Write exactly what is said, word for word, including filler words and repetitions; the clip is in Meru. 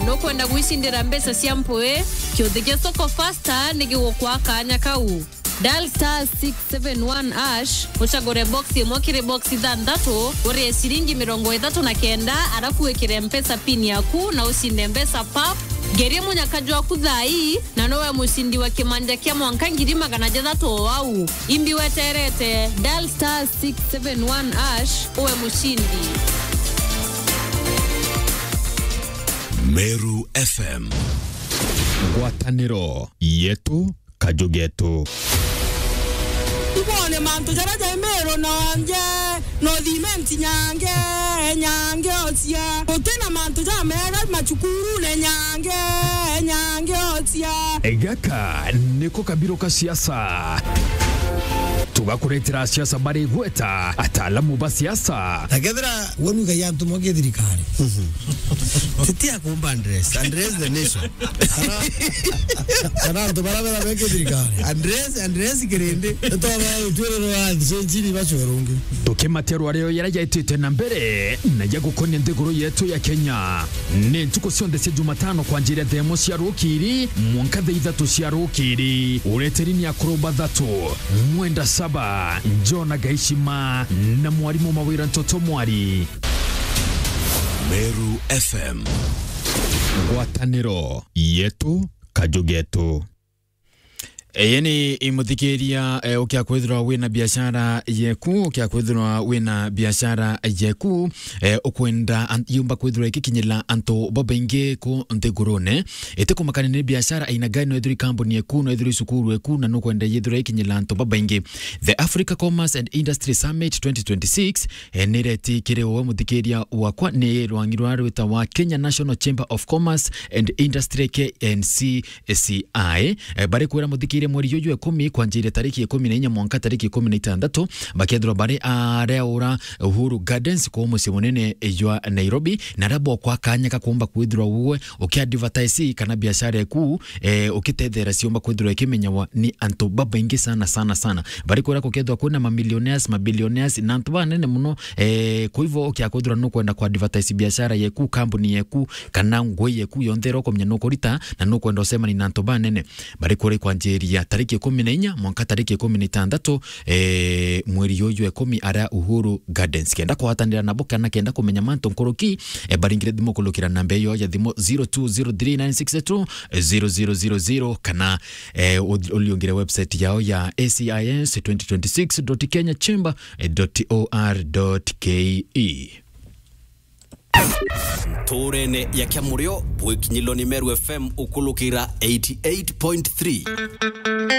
Nukwenda gwicindira mbeca cia mpwi? Kiuthi gia Soko Fasta ni gigukwa kanya kau. Dial star six seven one hash, ucagure box imwe kiri box ithanthatu, urie ciringi mirongo ithatu na kenda, arafu wikire Mpesa pin yaku na ucinde mbeca pap. Ngerie munyaka jwaku thaa ii, na nowe mucindi wa kimanja kia mwanka ngiri magana jathatu o au. Imbi weterete, dial star six seven one hash, uwe mucindi. Meru F M. Ngwataniro yetu, kaju getu. Ibone mantu jaria jai Meru nonje, no thimenti nyange, nyange ocia. Gutina mantu jamega macukurune nyange, nyange ocia. Gaka niko kabiro ka siasa. Tugakuretera siasa bari gweta ataalamu ba siasa. Na kethira we nuigagia antu moke thirikari. Titi akumba address. Address the nation. Kana, kana antu bara bera beke thirikari. Address, address kirindi. Nitwaba utwiriro wa nthi cia nchini bacwe rungi. Tukimatia rwario yara yaitite na mbere na ya gukonia nthiguru yetu ya Kenya. Ni ntuku cionthe cia Jumatano kwanjiria thaa imwe cia rukiri mwanka thaa ithatu cia rukiri. Ureteri ni akuru bathatu, Mwenda Saba, Jona Gaishima na mwarimu Mawira Ntoto Mwari. Meru F M. Ngwataniro yetu, kaju getu. Ii ni imuthikiria, eh, ukia kwithirwa wina biashara yeku, ukia kwithirwa wina biashara yeku, eh, ukwenda an-, yumba kwithirwa ikikinyira antu babaingi ku nthigurune. Iti kumakania ni biashara aina gani, no ithirwe kambuni yeku, no ithirwe cukuru yeku, na nukwenda yithirwe ikinyira antu babaingi. The Africa Commerce and Industry Summit twenty twenty-six, eh, nireti kiri uwe muthikiria wakwa, ni rwangi rwa rwita wa Kenya National Chamber of Commerce and Industry, K N C C I, eh, bari kwira muthikiria mweri juju ikumi kwanjiria tariki ikumi na inya mwanka tariki ikumi na itandatu, bakethirwa bari areura Uhuru Gardens kuu mucii munene jwa Nairobi, na aria bokwa kanya ka kuumba kwithirwa uwe uki advertise kana biashara eku, eh, ukitethera ciumba kwithirwa ikimenyawa ni antu babaingi sana, sana, sana. Bari kwira gukethirwa kwina mamillionaires, mabillionaires, na antu banene muno, eh, kwa hivyo ukia kwithirwa nukwenda ku advertise biashara yeku, kambuni yeku, kana ngui yeku yonthe iria ukumenya nukurita, na nukwenda ucemania na antu banene, bari kuri kwanjiria tariki ikumi na inya mwanka tariki ikumi na itandatu, eh, mweri uyu ikumi, aria Uhuru Gardens. Kenda kugwatanira nabo kana kenda kumenya mantu nkuruki, eh, baringire thimu kulukira namba iyo ya thimu zero two zero three nine six two zero zero zero zero, kana, eh, ul-, uliungire website yao ya A C I S twenty twenty-six dot kenya chamber dot O R dot K E. Nturene ya Kiamurio, bwikinyilwa ni Meru F M ukulukira eighty-eight point three.